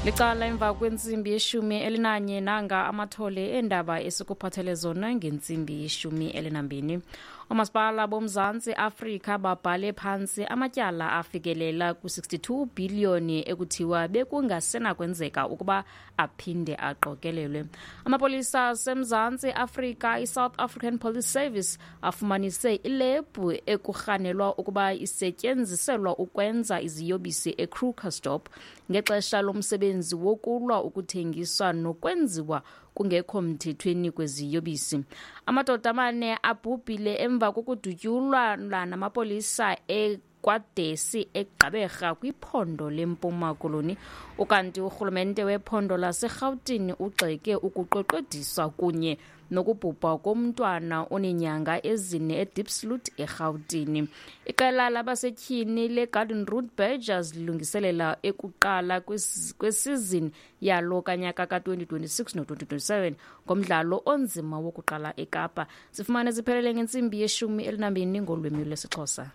Licala emva kwentsimbi yeshumi elinanye, nanga amathole eendaba esikuphathele zona ngentsimbi yeshumi elinambini. Oomasipala boMzantsi Afrika babhale phantsi amatyala afikelela ku-62 bhiliyoni ekuthiwa bekungasenakwenzeka ukuba aphinde aqokelelwe. Amapolisa aseMzantsi Afrika, iSouth African Police Service, afumanise ilebhu ekurhanelwa ukuba isetyenziselwa ukwenza iziyobisi eKrugersdorp ngexesha lomsebenzi wokulwa ukuthengiswa nokwenziwa kungekho mthethweni kweziyobisi. Amadoda amane abhubhile emva kokudutyulwa namapolisa eKwadesi eGqeberha kwiphondo leMpuma Koloni. Ukanti urhulumente wephondo laseRhawutini ugxeke ukuqweqwediswa kunye nokubhubha komntwana oneenyanga ezine eDiepsloot eRhawutini. Iqela labasetyhini leGarden Route Badgers lilungiselela ekuqala kwesizini yalo kanyaka ka-2026 no-2027 ngomdlalo onzima wokuqala eKapa. Sifumane ziphelele ngentsimbi yeshumi elinambini ngolwimi lwesiXhosa.